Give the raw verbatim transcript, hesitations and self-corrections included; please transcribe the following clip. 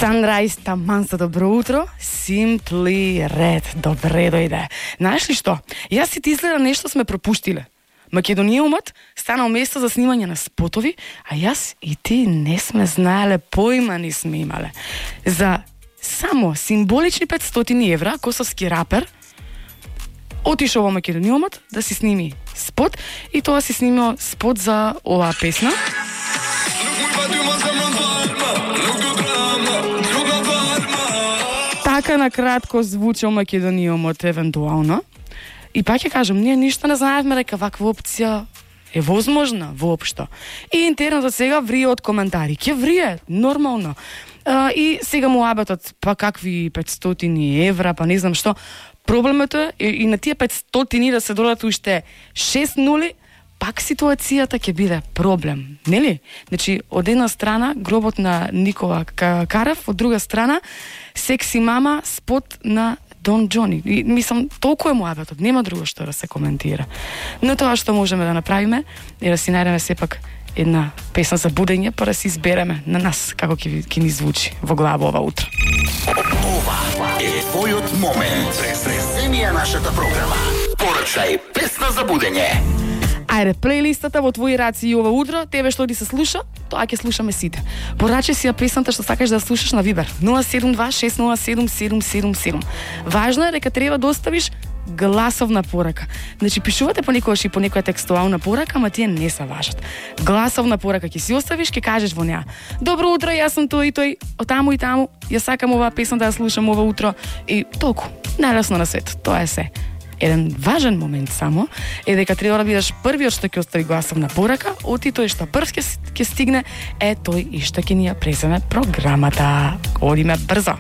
Sunrise, таман за добро утро, Simply Red, добре дојде. Знаеш ли што? Јас си ти изгледа нешто сме пропуштиле. Македониумот станал место за снимање на спотови, а јас и ти не сме знаеле, поима ни сме имале. За само символични петстотини евра, косовски рапер отишол во Македониумот да си сними спот и тоа си снимил спот за оваа песна. Така на кратко звучал Македониумот евентуално. И пак ќе кажам, ние ништо не знаевме дека ваква опција е возможна воопшто. И интернетот сега врие од коментари. Ќе врие, нормално. А, и сега му абетот, па какви петстотини евра, па не знам што. Проблемот е и на тие петстотини да се додат уште шест нули, пак ситуацијата ќе биде проблем, нели? Значи, од една страна гробот на Никола Карев, од друга страна секси мама спот на Дон Джони. И, мислам, толку е муабетот, нема друго што да се коментира. Но тоа што можеме да направиме е да си најдеме сепак една песна за будење, па да си избереме на нас како ќе ќе ни звучи во глава ова утро. Ова е твојот момент. Преземија нашата програма. Порачај песна за будење. Ајде, плейлистата во твои раци и ова утро, тебе што ти се слуша, тоа ќе слушаме сите. Порачај си ја песната што сакаш да слушаш на Вибер нула седум два шест нула седум седум седум седум. Важно е дека треба да оставиш гласовна порака. Значи, пишувате понекогаш и по некоја текстуална порака, ама тие не се важат. Гласовна порака ќе си оставиш, ќе кажеш во неа: добро утро, јас сум тој и тој, од таму и таму, ја сакам оваа песна да ја слушам ова утро и толку. Најлесно на свет, тоа е се. Еден важен момент само е дека треба да бидеш првиот што ќе остави гласовна порака, оти тој што прв ќе ќе стигне е тој и што ќе ни ја преземе програмата. Одиме брзо.